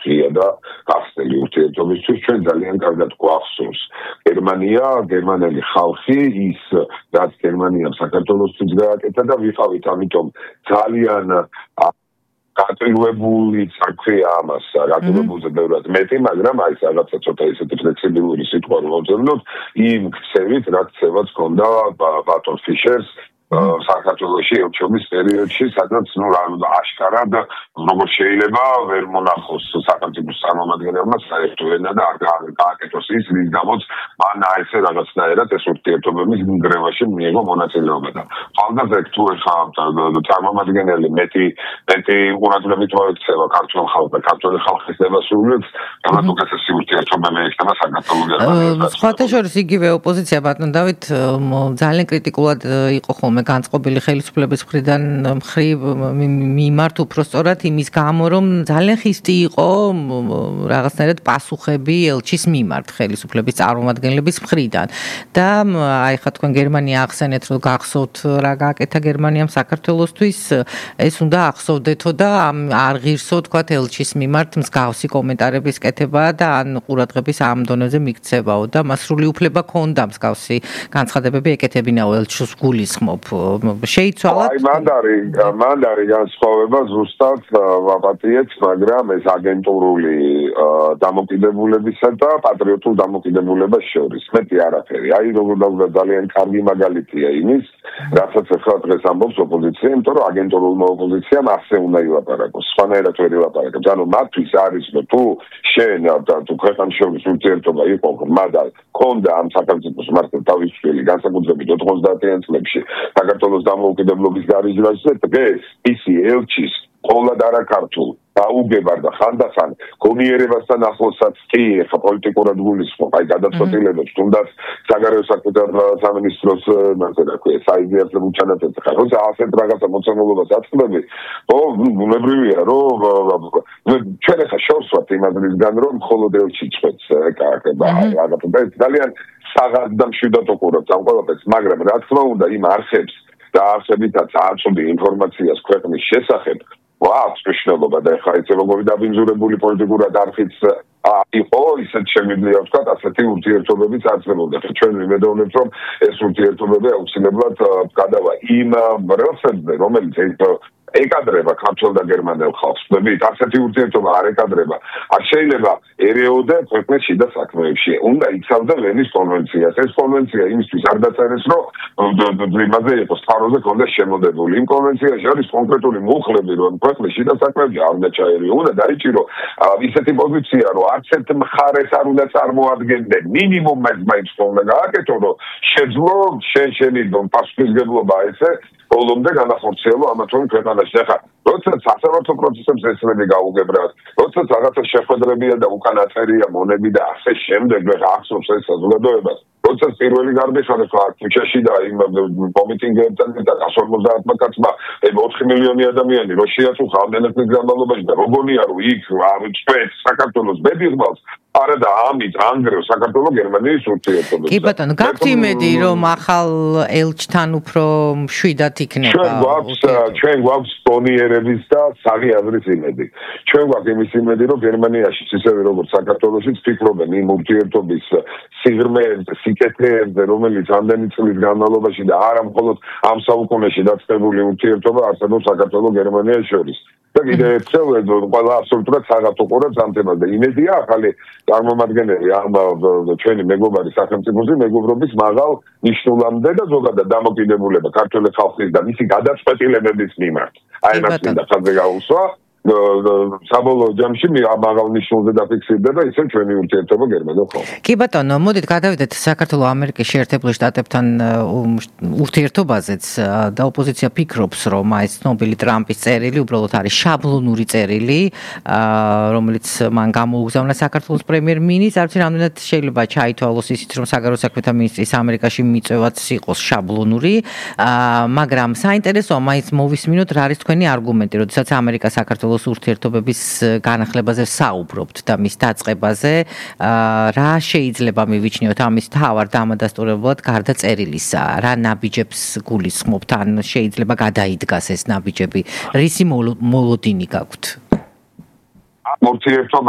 ღია და გახსნილი ურთიერთობისთვის ჩვენ ძალიან კარგად გვახსოვს გერმანელი ხალხი ის რაც გერმანიამ საქართველოსთვის გააკეთა და ვიყავით ამიტომ ძალიან გაწილვებული საქმეა ამას გაწილვებულზე ბევრად მეტი მაგრამ აი რაღაცა ცოტა ისეთი ფლექსიბილური სიტყვა რომ ვწერნოთ იმ ქცევით რა ქცევაც ჰქონდა ბატონ ფიშერს საქართველოში ელჩობის პერიოდში სადაც აშკარად როგორ შეიძლება ვერ მონახოს სახელმწიფოს წარმომადგენელმა საერთო ენა და არ გააკეთოს ის რის გამოც მან ესე რაღაცნაირად ეს ურთიერთობების ნგრევაში მიიღო მონაწილეობა და ხალხზე თუ ეხა წარმომადგენელი მეტი ყურადღებით მოექცევა ქართულ ხალხს და ქართული ხალხის დემოსულებს რამაც უკეთესი ურთიერთობები ექნება საქართველოს სხვათა შორის იგივე ოპოზიცია ბატონ დავით ძალიან კრიტიკულად იყო ხოლმე განწყობილი ხელისუფლების მხრიდან მიმართ უпростоრად იმის გამო რომ ძალიან ხისტი იყო რაღაცნაირად პასუხები ელჩის მიმართ ხელისუფლების წარმომადგენლების მხრიდან და აი ხა თქვენ გერმანია ახსენეთ რომ გახსოვთ რა გააკეთა გერმანიამ საქართველოსთვის ეს უნდა ახსოვდეთო და არ ღირსო თქვათ ელჩის მიმართ მსგავსი კომენტარების კეთება და ან ყურადღების ამ დონეზე მიქცევაო და მას სრული უფლება ჰქონდა მსგავსი განცხადებები ეკეთებინაო ელჩს გულისხმობ შეიცვალა აი მანდ არის განსხვავება ზუსტად ვაპატიეთ მაგრამ ეს აგენტურული დამოკიდებულებისა და პატრიოტულ დამოკიდებულებას შორის მეტი არაფერი აი როგორ დავუდგა ძალიან კარგი მაგალითია იმის რასაც ახლა დღეს ამბობს ოპოზიცია იმიტომ რომ აგენტურულმა ოპოზიციამ ასე უნდა ილაპარაკოს სხვანაირად ვერ ილაპარაკებს ანუ მათთვის არის რომ თუ შენ თუ ქვეყანას შორის ურთიერთობა იყო მაგრამ ქონდა ამ სახელმწიფოს მართლა თავისუფლი განსაკუთრებით 90-იან წლებში საქართველოს დამოუკიდებლობის გარიჟვაზე დღეს ისი ელჩის ყოვლად არაქართულ დაუგებარ და ხანდახან გონიერებასთან ახლოსაც კი ხა პოლიტიკურად გულისხმობ აი გადაწყვეტილებებს თუნდაც საგარეო საქმეთა სამინისტროს საიდეალურ ჩანაწერი ხარ როცა ასეთ რაღაცა მოცემულობას აწყდები ბუნებრივია რომ ჩვენ ხა შორს ვართ იმადრისგან რომ მხოლოდ ელჩი წვეთს ეკარგება რაღაცა ძალიან საღად და მშვიდად უყურებთ ამ ყველაფერს მაგრამ რა თქმა უნდა იმ არხებს და არსებითაც აწვდი ინფორმაციას ქვეყნის შესახებ მნიშვნელობა და ხა ეს როგორი დაბინძურებული პოლიტიკურად არხიც იყო ისეთ შემიძლია ვთქვათ ასეთი ურთიერთობებიც არსებობდა ჩვენ ვიმედოვნებთ რომ ეს ურთიერთობები აუცილებლად გადავა იმ რელსებზე რომელიც ეკადრება ქართულ და გერმანელ ხალხს. ხდებით, ასეთი ურთიერთობა არ ეკადრება. არ შეიძლება ერეოდა ქვეყნის შიდა საქმეებში. უნდა იცავდა ვენის კონვენციას. ეს კონვენცია იმისთვის არ დაწერეს, რომ იმაზე იყოს წყაროზე კონდეს შემოდებული. იმ კონვენციაში არის კონკრეტული მუხლები, რომ ქვეყნის შიდა საქმეებში არ უნდა ჩაერიო. უნდა დაიჭირო ისეთი პოზიცია, რომ არც ერთ მხარეს არ უნდა წარმოადგენდნენ. მინიმუმ მაინც უნდა გააკეთო, რომ შეძლო შენი პასუხისმგებლობა ესე ბოლომდე განახორციელო ამა თუ იმ ქვეყანაში. ახლა როდესაც სასამართლო პროცესებს ესლები გაუგებრათ, როდესაც რაღაცა შეხვედრებია და უკან აწერია მონები და ასე შემდეგ, ახსოვს ეს საზოგადოებას. როდესაც პირველი გარდაიხადა ქუჩაში და იმ კომიტინგებთან და 150 კაცმა 4 მილიონი ადამიანი რო შეაწუხა ამდენად განმავლობაში და როგორია რომ იქ წვეთს საქართველოს ბედიღმალს არა და ამით ანგრევს საქართველოს გერმანიის ურთიერთობებს. კი ბატონო, გაქვთ იმედი რომ ახალ ელჩთან უფრო მშვიდად იქნება? ჩვენ გვაქვს პონიერების და საღი აზრის იმედი. ჩვენ გვაქვს იმის იმედი რომ გერმანიაში ისევე როგორც საქართველოშიც ფიქრობენ იმ ურთიერთობის სიღრმეებზე, სიკეთეებზე, რომელიც ამდენი წლის განმავლობაში და არა მხოლოდ ამ საუკუნეში დაწყებული ურთიერთობა არსებობს საქართველოს გერმანიას შორის. და კიდევ ერთხელ ყველა აბსოლუტურად საღად უყურებს ამ თემას და იმედია ახალი წარმომადგენელი ამ ჩვენი მეგობარი სახელმწიფოზე მეგობრობის მაღალ ნიშნულამდე და ზოგადად დამოკიდებულება ქართული ხალხის და მისი გადაწყვეტილებების მიმართ. აი მას მინდა ხაზზე გაუსვა. საბოლოო ჯამში მაღალ ნიშნულზე დაფიქსირდება ისე ჩვენი ურთიერთობა გერმანელ ხალხთან. კი ბატონო, მოდით გადავიდეთ საქართველოს-ამერიკის შეერთებული შტატებთან ურთიერთობაზეც და ოპოზიცია ფიქრობს, რომ აი ცნობილი ტრამპის წერილი უბრალოდ არის შაბლონური წერილი, რომელიც მან გამოუგზავნა საქართველოს პრემიერ-მინისტრს. არც რამდენად შეიძლება ჩაითვალოს ისიც, რომ საგარეო საქმეთა მინისტრის ამერიკაში მიწვევაც იყოს შაბლონური, მაგრამ საინტერესოა მაინც მოვისმინოთ რა არის თქვენი არგუმენტი, როდესაც ამერიკა საქართველოს ურთიერთობების განახლებაზე საუბრობთ და მის დაწყებაზე რა შეიძლება მივიჩნიოთ ამის თავარ დამადასტურებლად გარდა წერილისა რა ნაბიჯებს გულისხმობთ ან შეიძლება გადაიდგას ეს ნაბიჯები რისი მოლოდინი გაქვთ ურთიერთობა